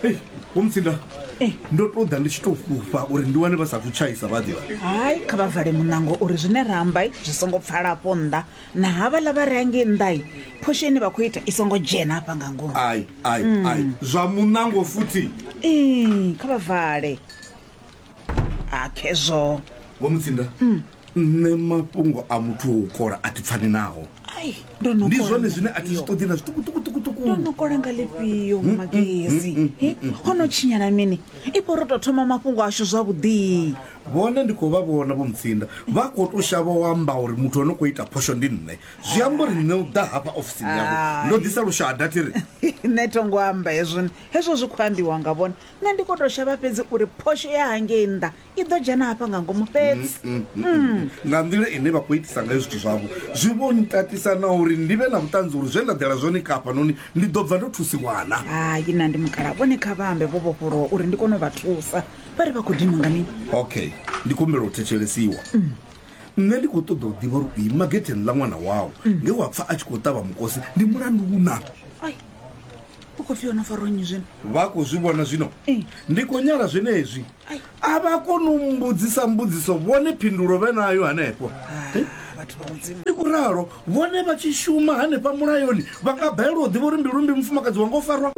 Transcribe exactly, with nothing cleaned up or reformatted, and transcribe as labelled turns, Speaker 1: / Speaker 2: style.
Speaker 1: Ei, Vho Mutsinda,
Speaker 2: Eh.
Speaker 1: ndo tou ḓa ndi tshi tou fhufha uri ndi wane vha sa thu tshaisa vha ḓivha.
Speaker 2: Hai, kha vha vale muṋango uri zwine ra amba zwi songo pfala afho nnḓa, na havhaḽa vha re hangei nnḓa phosho ine vha khou ita i songo dzhena hafha nga ngomu.
Speaker 1: Ai, ai, ai, zwa muṋango futhi.
Speaker 2: Ee, kha vha vale. A khezwo.
Speaker 1: Vho Mutsinda, nṋe mafhungo a muthu wo u kola a thi pfani naho.
Speaker 2: Ai, ndo no
Speaker 1: Ndi
Speaker 2: kola
Speaker 1: zwone
Speaker 2: nga
Speaker 1: zwine a thi zwi
Speaker 2: lifhio.
Speaker 1: ṱoḓi na zwiṱukuṱukuṱukuṱuku.
Speaker 2: Ndo no kola nga lifhio Magezi? He, ho no tshinyala mini? Ifho ro tou thoma mafhungo ashu zwavhuḓi.
Speaker 1: Vhone ndi khou vha vhona Vho Mutsinda, vha khou tou shavha u amba uri muthu o no khou ita phosho ndi nṋe. Zwi amba uri nṋe u ḓa hafha ofisini yavho ndo ḓisa lushada thi ri.
Speaker 2: Nṋe tho ngo amba hezwo, hezwo zwi khou ambiwa nga vhone. Nṋe ndi khou tou shavha fhedzi uri phosho ya hangei nnḓa i ḓo dzhena hafha nga ngomu fhedzi.
Speaker 1: Nga nḓila ine vha khou itisa ngayo zwithu zwavho zwi vho ntatisa na uri ndi vhe na vhuṱanzi uri zwe nda ḓela zwone kafhanoni ndi ḓo bva ndo thusiwana.
Speaker 2: Hai, na ndi mukala, vhone kha vha ambe vho vhofholowa uri ndi kone u vha thusa. Vha ri vha khou dinwa nga mini?
Speaker 1: Okay, ndi kumbela u thetshelesiwa. Nṋe ndi khou ṱoḓa u ḓivha uri u ima getheni ḽa ṅwana wau nge wa pfa a tshi khou ṱavha mukosi ndi mulandu una.
Speaker 2: Ai, u khou pfi yo no farwa nnyi zwino?
Speaker 1: Vha khou zwi vhona zwino.
Speaker 2: Eh.
Speaker 1: Ndi khou nyala zwenezwi.
Speaker 2: Ai.
Speaker 1: A vha koni u mbudzisa mbudziso vhone phindulo vhe nayo hanefho.
Speaker 2: Ah, vhathu vha Mudzimu.
Speaker 1: Ndi khou ralo, vhone vha tshi shuma hanefha mulayoni vha nga balelwa u ḓivha uri mbilumbi mufumakadzi wanga o farwa.